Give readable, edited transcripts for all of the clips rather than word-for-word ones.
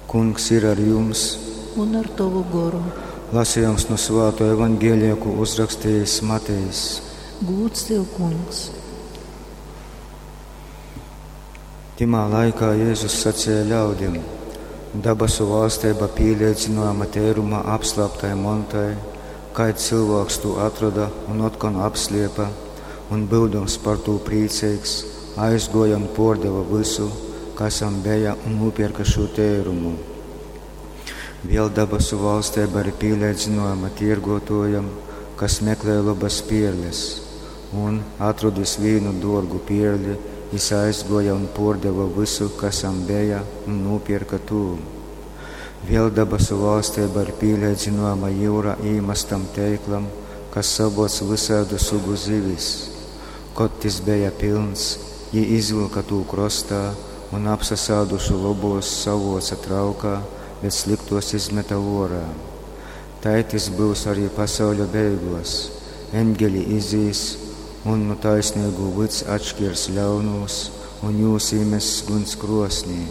Kungs ir ar jums! Un ar tovu goru. Lasījums no Svāto evaņģēlija, ko uzrakstījis Matejs. Gūds tev, Kungs! Timā laikā Jēzus sacīja ļaudim: Dabasu valstība pīlīdzinājama tēruma apslēptai montai, kaids cilvēks to atrada un otkon apsliepa, un būdams par to priecīgs, aizgoja un pordeva visu, kas jam bija, un nopirka šo tērumu. Vēl dabasu valstība ir pīlīdzinājama tirgotojam, kas meklē labas pierles, un, atradis vīnu dārgu pierli, jis aizgoja un pordeva visu, kas jam bija, un nopirka to. Vēl dabasu valstība ir pīlīdzinājama jūrā īmestam teiklam, kas savoc visādu sugu zivis. Kad tis bija pilns, jī izvilka tū krostā un apsasādušu lobos savoca traukā, bet sliktos izmeta orā. Tai tis būs arī pasauļa beigos. Eņģeļi izīs un nu taisnīgu vyds atšķirs ļaunūs un jūs iemess guns krosnī.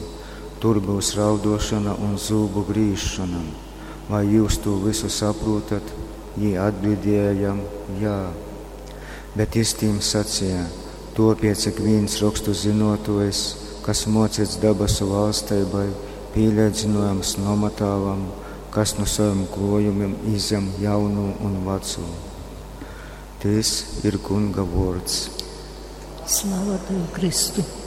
Tur būs raudošana un zūbu grīzšana. Vai jūs to visu saprotat? Jī atbildēja jam, jā. Bet jis tīm sacīja, topiec ik viens rokstu zinotojs, kas mocīts dabasu valstībai, pīlīdzinojams nomatāvam, kas no saviem klojumiem izem jaunu un veco. Tis ir Kunga vārds. Slava tev, Kristu!